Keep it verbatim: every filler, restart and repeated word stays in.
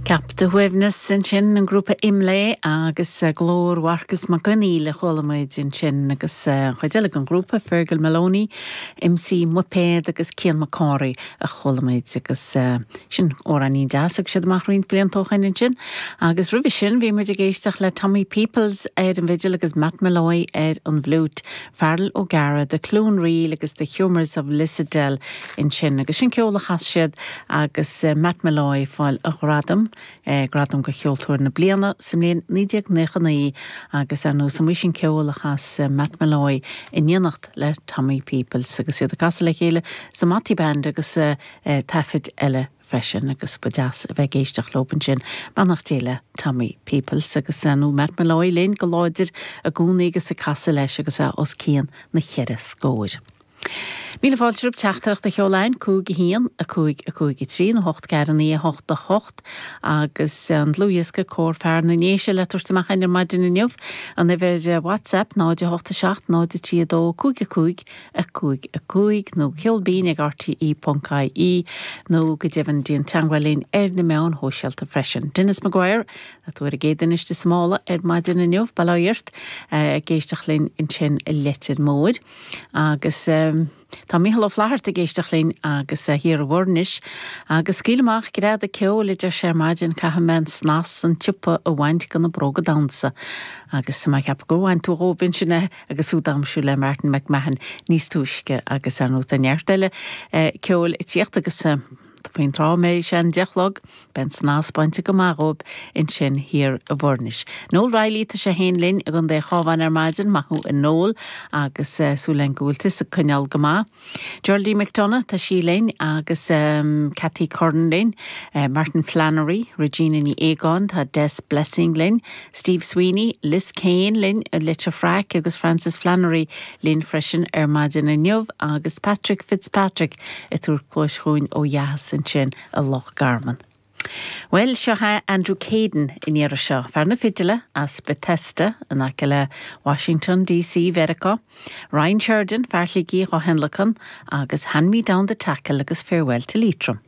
Ceap do shuaimhneas ansin an grúpa Imlé agus eh, glór Mharcas Mac Conghail a chuala muid ansin agus eh, chuid eile den ghrúpa Fergal Maloney, MC Muipéad agus Cian Mac Cárthaigh a chuala muid agus eh, sin amhráinín deas agus siad amach roinnt blianta ó shin ansin. Agus roimhe sin bhí muid ag éisteacht le Tommy Peoples ar an bhfidil agus Matt Molloy ar an bhfliúit, Feargal O'Gara, The Cloon Reel agus The Humours of Lissadell ansin agus sin ceol a chas siad agus Matt Molloy fáil a ghradam eh, gradam do cheoltóir na bliana sa mbliain naoi déag nócha naoi agus ar nós an sin ceol a chas eh, Matt Molloy in éineacht le Tommy Peoples agus iad ag casadh le chéile sa Matty Band agus uh, uh, taifid eile freisin agus ba deas a bheith ag éisteacht leo ansin beannacht Dé le Tommy Peoples agus uh, nó Matt Molloy linn go láidir i gcónaí agus ag casadh leis agus é os cionn na cheithre scór. Míle fáilte romhaibh teachtaireacht a sheoladh cúig a haon a cúig a cúig a trí nó hocht ceathair naoi a hocht a hocht agus an dlúthdhiosca Cór Fear na nDéise le tabhairt amach ar maidin inniu an uimhir WhatsApp náid a hocht a seacht náid a trí dó cúig a cúig a cúig a cúig nó ceol binn ag RTE.ie nó go deimhin déan teagmháil linn ar na meáin shóisialta freisin. Dennis Maguire a tú ar a géad iiste smála ar maidin inniu baláirt ag éisteacht linn ansin i Leitir Móir agus um, Tá Mícheál Ó Flaithearta ag éisteacht linn agus thiar i bhFoirnis, agus scaoil amach greadadh ceoil idir sé maidin caithfidh mé an snas an tsiopa a bhaint de na bróga damhsa. agus má cheap go bhain tú róbin sinne agus sú damsú le Martin McMahon níos túisce agus ar nó an neart eile ceol i tíocht agus faoin tráth mé sé an deich beidh an snas bainte go maith dhóibh ansin thiar i bhFoirnis. Noel Riley tá sé féin linn i gContae an Chabháin ar maidin maith thú a Noel agus uh, súil go bhfuil tusa ag coinneáil go maith. Geraldine McDonough tá sí linn agus um, Cathy Curran linn, uh, Martin Flannery, Regina Ní Éagáin tá Des Blessing linn, Steve Sweeney, Liz Kane linn a Leitir Fraic agus Francis Flannery linn freisin ar maidin inniu agus Patrick Fitzpatrick ag tabhairt cluas chugainn ó dheas ansin i Loch Garman. Well seo é Andrew Caden in iar seo, fear na fidile as Bethesda in aice le Washington DC Mheiriceá, Ryan Sheridan fear Shligigh á thionlacan agus Hand Me Down the Tackle agus Farewell to Leitrim.